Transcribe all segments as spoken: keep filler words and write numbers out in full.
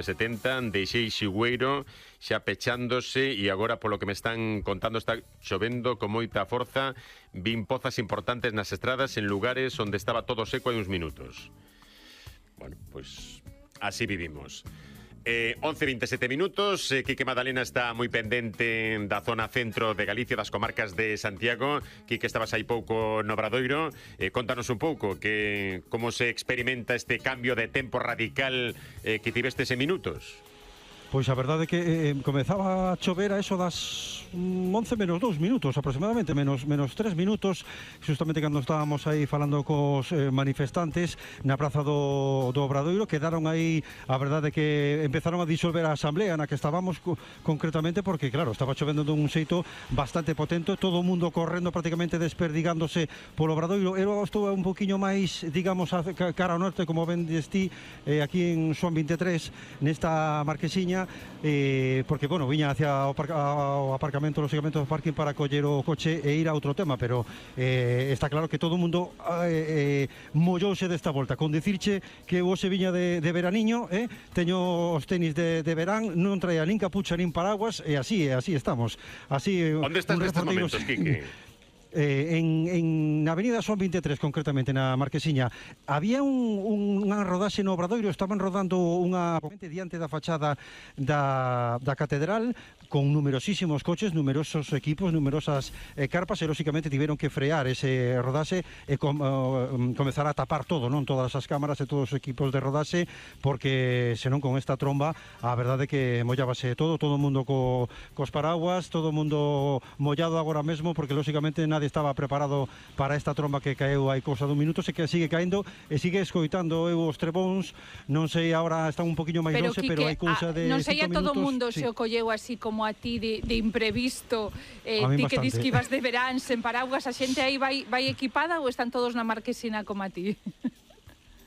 setenta de Xeixigüeiro xa pechándose e agora, polo que me están contando, está chovendo con moita forza. Vin pozas importantes nas estradas en lugares onde estaba todo seco hai uns minutos. Bueno, pois así vivimos. Eh, once e veintesete minutos, eh, Quique Madalena está moi pendente da zona centro de Galicia, das comarcas de Santiago. Quique, estabas aí pouco no Obradoiro. Eh, contanos un pouco que como se experimenta este cambio de tempo radical eh, que tivestes en minutos. Pois a verdade é que eh, comezaba a chover a eso das once menos dous minutos aproximadamente, menos, menos tres minutos, justamente cando estábamos aí falando cos eh, manifestantes na praza do, do Obradoiro. Quedaron aí, a verdade é que empezaron a disolver a asamblea na que estábamos co, concretamente, porque claro, estaba chovendo dun xeito bastante potente, todo o mundo correndo, prácticamente desperdigándose polo Obradoiro. Eu estou un poquinho máis, digamos, a, cara ao norte, como ven desti, eh, aquí en Xoán veintitrés, nesta marquesiña. Eh, porque, bueno, viña hacia o, par o aparcamento, lógicamente, do parking para coller o coche e ir a outro tema, pero eh, está claro que todo o mundo eh, eh, mollouse desta volta. Con dicirche que hoxe viña de, de veraniño, eh, teño os tenis de, de verán, non traía nin capucha nin paraguas, e así, e así estamos. Así, onde estás nestes momentos, Quique? Eh, en, en na avenida Xoán veintitrés, concretamente na Marquesiña, había un, unha rodaxe no Obradoiro. Estaban rodando unha diante da fachada da, da catedral, con numerosísimos coches, numerosos equipos, numerosas eh, carpas, e lógicamente tiveron que frear ese rodaxe e com, uh, comezar a tapar todo, non, todas as cámaras e todos os equipos de rodaxe, porque senón con esta tromba a verdade é que mollábase todo, todo o mundo co, cos paraguas, todo o mundo mollado agora mesmo, porque lógicamente nadie estaba preparado para esta tromba que caeu hai cousa dun minuto, se que sigue caendo e sigue escoitando eu os trebóns. Non sei, agora está un poquinho máis doce, pero hai cousa de non sei a todo o mundo sí. Se o colleu así como a ti de, de imprevisto, eh, ti que dis que ibas de verán sen paraguas, a xente aí vai, vai equipada ou están todos na Marquesina como a ti?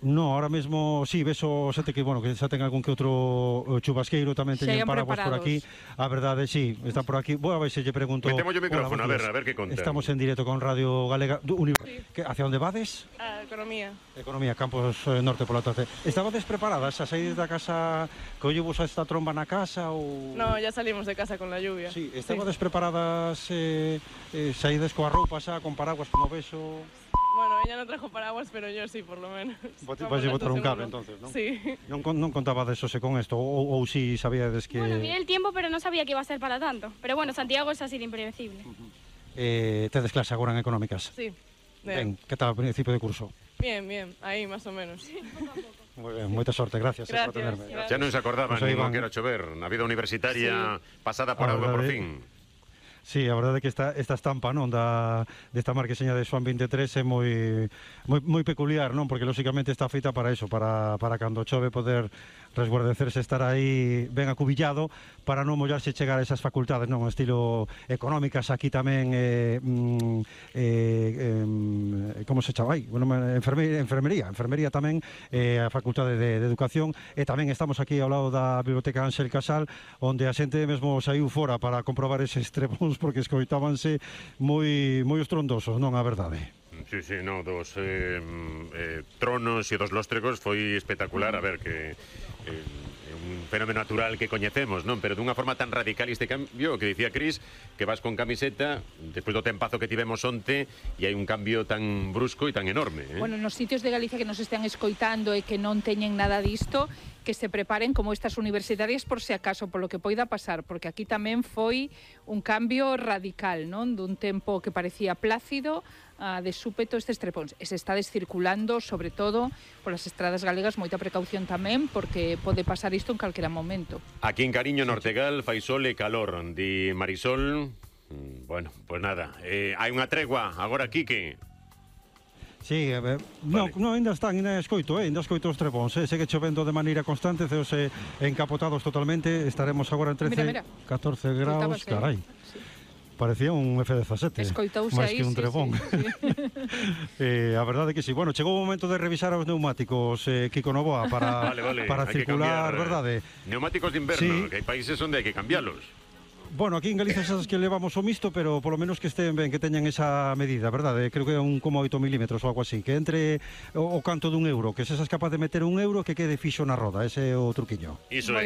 No, ahora mesmo, sí, beso xente que, bueno, que xa ten algún que outro chubasqueiro, tamén teñen paraguas por aquí. A verdade, sí, está por aquí. Vou a ver se lle pregunto... Metemos o micrófono, a ver, a ver que contan. Estamos en directo con Radio Galega. Sí. Hacia onde vades? A Economía. Economía, Campos eh, Norte, pola tarde. Estabades preparadas a sair da casa, collevos a esta tromba na casa ou... No, ya salimos de casa con la lluvia. Sí, estabades sí. preparadas, eh, eh, saídes coa roupa xa, con paraguas, como beso... Bueno, ella no trajo paraguas, pero yo sí, por lo menos. Vos te vais a botar un cable, entonces, ¿no? Sí. Non, non contaba de eso se con esto, ou, ou si sabíades que... Bueno, vi el tiempo, pero no sabía que iba a ser para tanto. Pero bueno, Santiago es así de impredecible. Uh-huh. eh, tedes clase agora en Económicas? Sí. Ben, que tal o principio de curso? Bien, bien, aí más o menos. Sí, poco a poco. Moi ben, moita sorte, gracias, gracias por tenerme. Xa non se acordaban, pues nin que era chover. Na vida universitaria sí. Pasada por algo por fin. Sí, a verdade é que esta, esta estampa, non, da, desta marquesiña de Xoán veintitrés é moi, moi, moi peculiar, non, porque lógicamente está feita para eso, para, para cando chove poder resguardecerse, estar aí ben acubillado, para non mollarse chegar a esas facultades, non, estilo Económicas, aquí tamén eh, eh, eh, como se chama aí? Bueno, enfermería, enfermería, enfermería tamén, eh, a Facultade de, de Educación, e tamén estamos aquí ao lado da Biblioteca Ángel Casal, onde a xente mesmo saiu fora para comprobar eses trebóns, porque escoitábanse moi moi estrondosos, non, a verdade. Sí, sí, no, dos eh, eh, tronos e dos lóstregos foi espectacular, a ver, que eh, un fenómeno natural que coñecemos, non? Pero dunha forma tan radical este cambio, que dicía Cris, que vas con camiseta despois do tempazo que tivemos onte e hai un cambio tan brusco e tan enorme, eh? Bueno, nos sitios de Galicia que nos están escoitando e que non teñen nada disto, que se preparen como estas universitarias por se acaso, por lo que poida pasar, porque aquí tamén foi un cambio radical, non? Dun tempo que parecía plácido a de súpeto estes trepóns. E se está descirculando, sobre todo, polas estradas galegas, moita precaución tamén, porque pode pasar isto en calquera momento. Aquí en Cariño, Nortegal, fai sol e calor, di Marisol. Bueno, pues nada, eh, hai unha tregua agora, Quique. Sí, eh, no, vale. no, ainda están, ainda escoito, eh, ainda escoito os trebóns, eh, segue chovendo de maneira constante, ceos eh, encapotados totalmente, estaremos agora en trece, mira, mira. catorce graus, carai. Sí. Parecía un efe dezasete, máis que un trebón. Sí, sí, sí. eh, a verdade que sí. Bueno, chegou o momento de revisar os neumáticos, eh, Kiko Novoa, para, vale, vale. para circular, cambiar, verdade? Neumáticos de inverno, sí. Que hai países onde hai que cambiarlos. Bueno, aquí en Galicia sabes que levamos o mixto, pero polo menos que estén ben, que teñan esa medida, verdade? Creo que é un coma oito milímetros ou algo así, que entre o, o canto dun euro, que se es capaz de meter un euro que quede fixo na roda, ese é o truquiño. Iso é.